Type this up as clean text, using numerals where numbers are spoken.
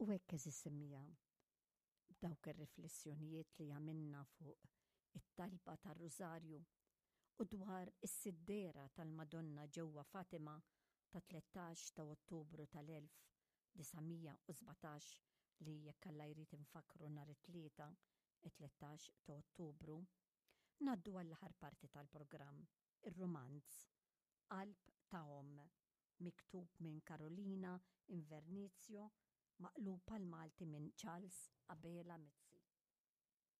U hekk għeżież semmiegħa, b'dawk ir-riflessjonijiet li għamilna fuq it-talba tar-Rużarju u dwar is-siddera tal-Madonna ġewwa Fatima ta' 13 ta' Ottubru tal-1917 li jekk Alla jrid infakkru nhar it-Tlieta, it-13 ta' Ottubru, ngħaddu għall-aħħar parti tal-programm, ir-rumanz Qalb ta' Omm, miktub minn Carolina Invernizio, maqlub għall-Malti minn Charles Abela Mizzi.